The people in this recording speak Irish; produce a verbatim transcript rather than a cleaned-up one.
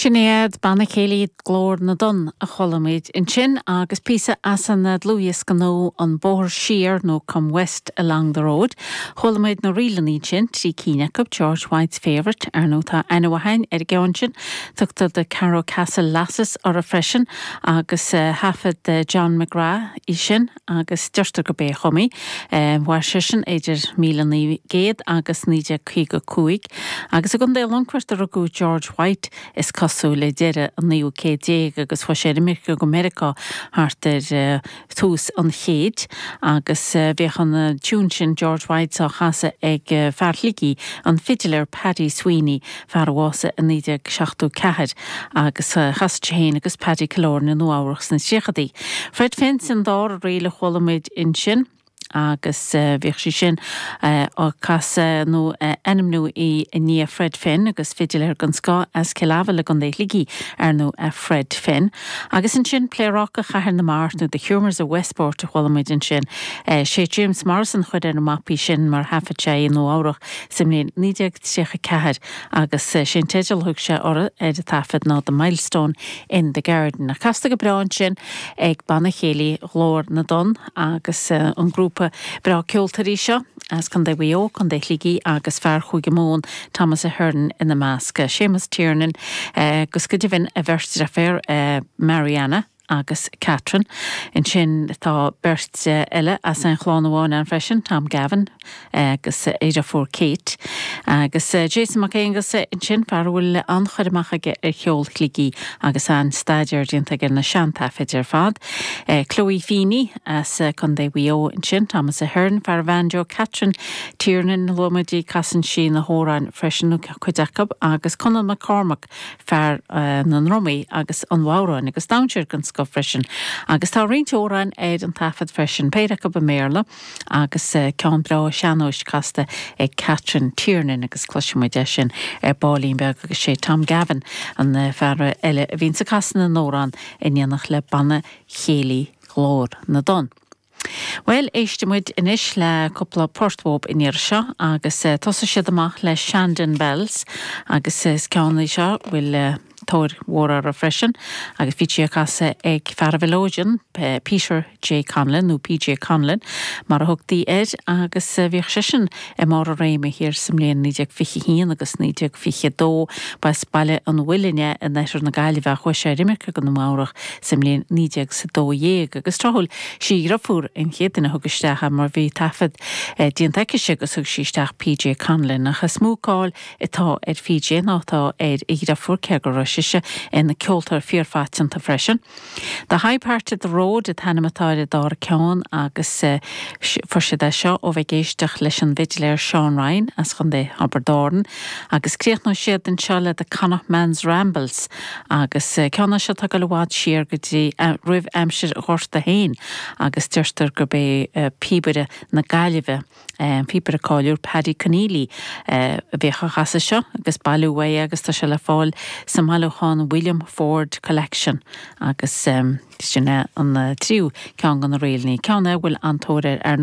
Sin iad Banna Céilí Ghlór na dTonn a chuala muid ansin agus píosa as an dlúthdhiosca nua an Bóthar Siar nó Come West Along the Road. Chuala muid na ríleanna sin trí cinn acu George White's Favourite ar nó tá aithne ar an gceann sin, tugtar The Carrow Castle Lasses orthu freisin agus uh, thaifead uh, John McGrath í sin agus deirtear gurb é a chum í. Uh, Mhair sin idir míle naoi gcéad agus naoi déag caoga cúig, agus i gContae Longfoirt a rugadh George White is cosúil le deireadh an naoú céad déag agus chuaigh sé ar imirce go Meiriceá thart ar uh, tús an chéid agus uh, bhíodh an uh, tiún sin George White á chasadh ag uh, fear Shligigh an fidiléir Paddy Sweeney fear a bhásaigh i naoi déag seachtó ceathair agus uh, chas sé féin agus Paddy Killoran i Nua-Eabhrac sna tríochaidí. Fred Finn's an dara ríl a chuala muid ansin. agus uh, bhíodh sí sin uh, á casadh nó uh, ainmníodh í i ndiaidh Fred Finn agus fidiléir den scoth as Cill Aibhle i gContae Shligigh ar nó uh, Fred Finn. Agus ansin Pléaráca Chathair na Mart nó The Humours of Westport a chuala muid ansin. Uh, sé James Morrison chuir ar na mapaí sin mar thaifead sé i Nua-Eabhrac sa mbliain naoi déag tríocha ceathair agus uh, sin teideal thug sé orthu ar an taifead ná The Milestone in the Garden. A casta go breá ansin ag Banna Céilí Ghlór na dTonn agus uh, an grúpa breá ceoltóirí seo as Contae Mhaigh Eo, Contae Shligigh agus fear Chúige Mumhan Thomas Ahern ina measc. Séamus Tiernan agus go deimhin a bheirt deirfiúr Mariana agus Catherine. Ansin tá beirt eile as an chlann amháin ann freisin, Tom Gavin agus a dheirfiúr Kate. Agus Jason Mac Aonghasa ansin fear a bhfuil an-chur amach aige ar cheol Shligigh agus an staidéar déanta aige na seantaifid ar fad. Chloe Feeney as Contae Mhaigh Eo ansin, Thomas Ahern, fear banjo Catherine Tiernan luaigh muid casann sí na hamhráin freisin cuid acu agus Conall McCormack fear uh, na ndrumaí agus an bhodhráin agus damhsóir den scoth freisin. Agus tá roinnt amhrán ar an taifead freisin péire acu i mBéarla agus uh, ceann breá sean-nóis casta ag Catherine Tiernan agus cloisfimid é sin ar baillín beag agus sé Tom Gavin an uh, fear eile a bhíonn ag casadh na n-amhrán in éineacht le Banna Céilí Ghlór na dTonn. Well éistfimid anois le cúpla port uathub in iar seo agus uh, tosóidh siad amach le Shandon Bells agus is ceann é seo bhfuil uh, tóir mhór air freisin agus bhí sé á chasadh ag fear mhelodeon Peter J. Conlon nó PJ Conlon mar a thugtaí air agus bhíodh seisean i mbarr a réime thiar sa mbliain naoi déag fiche haon agus naoi déag fiche dó b'as Baile an Mhuilinn in oirthear na Gaillimhe chuaigh sé ar imirce go Nua-Eabhrac sa mbliain naoi déag sa dó dhéag agus tráthúil sí deirfiúr an chéad duine a thug isteach mar bhí taifead déanta aici agus thug sí isteach PJ Conlon ach is mó cáil atá ar PJ ná atá ar a dheirfiúr cé go raibh sise ina ceoltóir fíorphaiteanta freisin. The High Part of the Road an t-ainm atá ar an dara ceann agus uh, fuair siad é seo ó bheith ag éisteacht leis an bhfidiléir Sean Ryan as Contae Thiobraid Árann, agus críochnóidh siad anseo le The Connacht Man's Rambles agus uh, ceann seo tá go bhfad siar go dtí uh, roimh aimsir Ghorta féin agus deirtear gurb é uh, píobaire na Gaillimhe um, píobaire cáiliúil Paddy Conneely uh, a bhíodh á chasadh seo agus bailiú é agus tá sé le fáil sa mbailiúchán William Ford Collection agus um, sin é an uh, tríú ceann de na ríleanna ceann a bhfuil an-tóir air ar